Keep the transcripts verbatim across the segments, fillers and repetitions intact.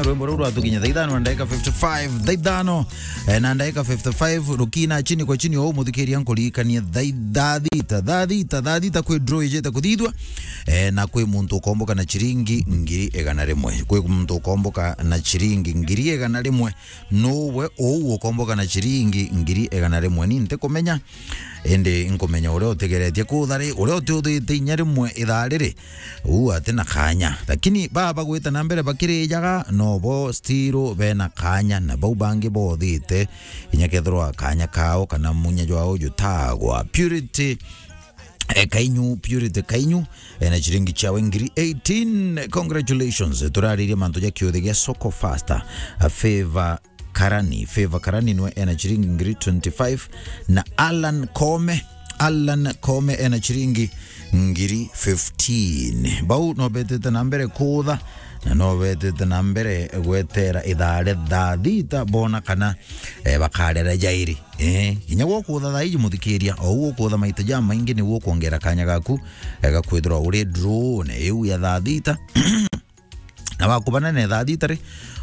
Rwimbo ruu rwatukinya thaa ithano na ndagika fifty-five, thaa ithano, eh, na ndagika fifty-five, rukina chini kwa chini, ou muthikiria nkuririkanie thaa, thaa thita, thaa thita, thaa thita kwi draw ijite kuthithua, eh, na kwi muntu ukomboka na chiringi ngiri igana rimwe. Kwi muntu ukomboka na chiringi ngiri igana rimwe. Nuwe uu ukomboka na chiringi ngiri igana rimwe? Ni ntikumenya, indi nkumenya uria utigeretie kutha ri, uria utiuthite inya rimwe ithaa riri, uu ati na kanya. Lakini baba gwita na mbere bakirijaga, no bo still bena kanya, na bau bangi bothite, inya kethirwa kanya kao kana munya jwao jutagwa. Purity, eh, Kainyu, Purity Kainyu, ena chiringi chiawe ngiri eighteen. Congratulations. Turaririe mantu ja kiuthi gia Soko Faster. A Favor Karani. Favor Karani nwe ena chiringi ngiri twenty-five. Na Alan Kome. Alan Kome ena chiringi ngiri fifteen. Bau no betete na mbere kutha, na no betete na mbere gwetera ithaa ria thaa thita bona kana, eh, bakarera jairi. Eh, kinya gwo kutha thaa iji muthikiria, o uu ukutha maita jamaingi niguo ukwongera kanya gaku, eh, ga kwithirwa uri draw-ne iu ya thaa thita. Na wakubana na thaa thita ri,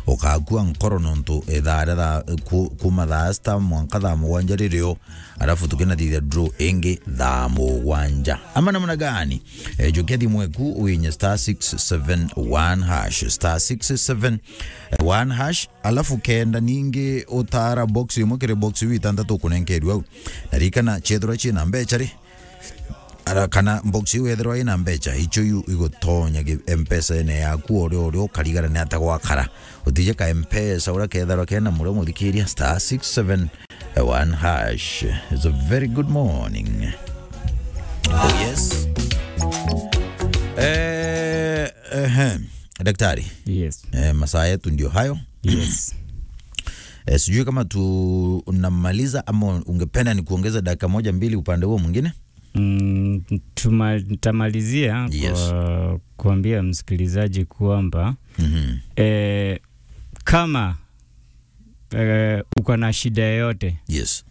ukakua nkoro nontu ithaa ria thaa, ku-, kuma thaa sita mwanka thaa mugwanja ririo, alafu tukinathithia draw ingi thaa mugwanja. Ama namna gani? Eh, jukia thimu eku uinye star six seven one hash, star six seven one hash. Alafu kenda ningi utara box imwe kiri box iu itantatu ukunenkerua au. Na ririkana, ciethirwa ciina mbeca ri, ara, kana box iu yethirwa ina mbeca, icio iu igutonya gi-, M-Pesa-ine yaku, o rio, o rio ukarigara ni ata gwakara. Utije ka M-Pesa uria kethirwa kena murio muthikiria, star six seven one hash. It's a very good morning. Oh, yes. Eh, ehe. Daktari. Yes. Eh, masaa yetu ndio hayo. Yes. Eh, sijui kama tunamaliza ama ungependa ni kuongeza dakika moja mbili upande huo mwingine? Mm, tuma-, nitamalizia Yes. kwa kuambia msikilizaji kwamba, Mhm. eh, kama, eh, uko na shida yoyote Yes.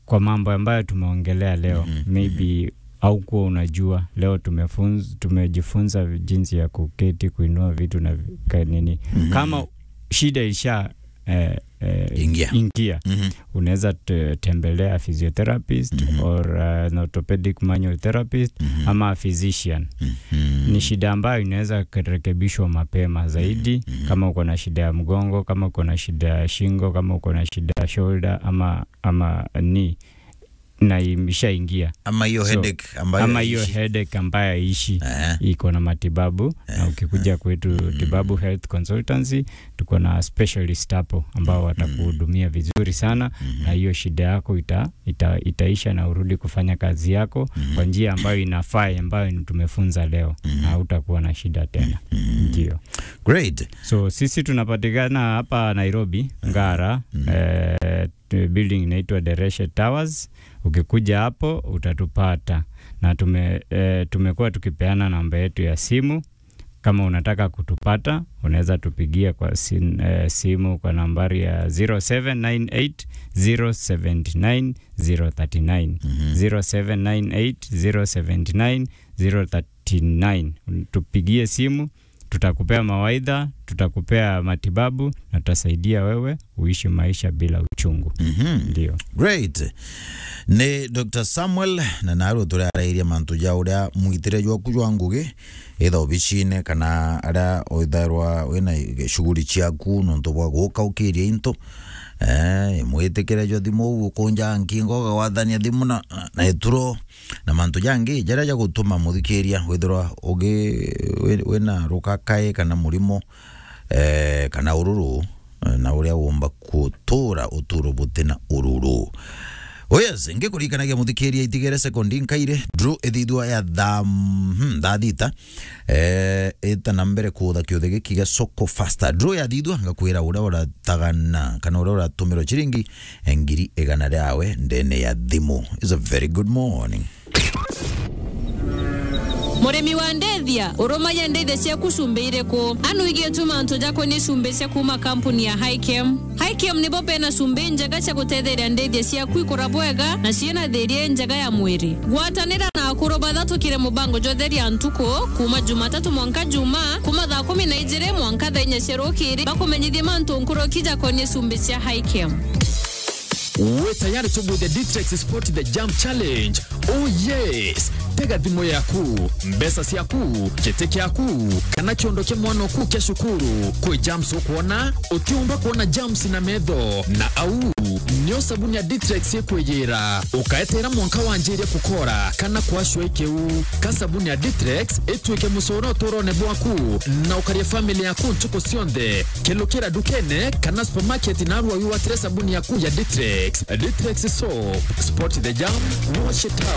kwa mambo ambayo tumeongelea leo, Mhm, maybe haukuwa unajua. Leo tumefunz-, tumejifunza jinsi ya kuketi, kuinua vitu na vi-, ka-, nini. Mhm. Kama shida isha, eh, eh, Ingia. ingia, Mhm. unaweza te-, tembelea physiotherapist Mhm. or, uh, an orthopedic manual therapist Mhm. ama a physician. Mhm. Ni shida ambayo inaweza kurekebishwa mapema zaidi. Mhm. Kama uko na shida ya mgongo, kama uko na shida ya shingo, kama uko na shida ya shoulder ama, ama knee, na imeshaingia. Ama hiyo So, headache ambayo ama hiyo haiishi. headache ambayo haiishi, Eh. iko na matibabu. Na Eh, ukikuja eh. kwetu Mm. Tibabu Health Consultancy, tuko na specialist hapo ambao Mm. watakuhudumia vizuri sana, Mm. na hiyo shida yako ita-, ita-, itaisha na urudi kufanya kazi yako Mm. kwa njia ambayo inafaa, ambayo tumefunza leo, Mm. na hautakuwa na shida tena. Mm. Ndio. Great. So, sisi tunapatikana hapa Nairobi, Ngara, Mm. eh, building inaitwa Dereshe Towers. Ukikuja hapo, utatupata. Na tume-, eh, tumekuwa tukipeana namba yetu ya simu. Kama unataka kutupata, unaweza tupigia kwa sin-, eh, simu kwa nambari ya zero seven nine eight, zero seven nine, zero thirty nine. Mhm. Zero seven nine eight, zero seven nine, zero thirty nine. Tupigie simu, tutakupea mawaidha, tutakupea matibabu na tutasaidia wewe uishi maisha bila uchungu. Mhm. Ndio. Great. Ni Doctor Samuel, na narua turarairia mantu ja uria mwitire jwaku jwa ngugi, either obicine kana aria withairwa wina shughuli ciaku nontu bwa guka ukiria into. Eh, mwitikire jwa thimu ukunja nkingo, ugagwathania thimu na, na ituro. Na mantu jangi jaria jagutuma muthikiria withirwa ugi-, wi-, wina rukakae kana murimo, eh, kana ururu, eh, na uria womba gutura uturo butina ururu. Oh yes, ngikurikanagia muthikiria, itigere sekondi nkaire, draw ithithua ya thaa, mhm, thaa thita, eh, ita na mbere kuutha kiuthe giki gia Soko Faster. Draw yathithua, ngakwira uria uratagana kana uria uratumirwa chiringi ngiri igana riawe ndene ya thimu. It's a very good morning. Murimi wa ndethia, urumagia ndethia ciaku cumbi iriku? Anu igie tu mantu jakwa ni cumbi cia kuma kampuni ya Highchem. Ikium nibo bena cumbi njega cia gutetheria ndithia ciaku ikura bwega na ciina thiria injega ya mwiri. Gwatanira na akuru bathatukire mubango jwa Theria Ntuku, kuuma Jumatatu mwanka Juma, kuuma thaa kumi na ijiri mwanka thaa inya cia rukiri, bakumenyithie mantu nkuruki jakonie cumbi cia Hikem. Wi tayari tubwithie Ditrex Sport the Jam Challenge? Oh yes! Tega thimu yaku, mbeca ciaku, giti kiaku, kana kiondo kia mwana oku kia cukuru. Kwi jams ukwona? Utiumba kwona jams na metho. Na au nio sabuni ya Ditrex ikwiyira. Ukaetera mwanka wanjirie kukora kana kwashwa ikiu. Ka sabuni ya Ditrex itwike mucoro uturone bwaku, na ukaria family yaku ntuku cionthe. Kelukira dukene kana supermarket narua wiwatire sabuni yaku ya Ditrex. Ditrex soap, spot the jam, wash it out.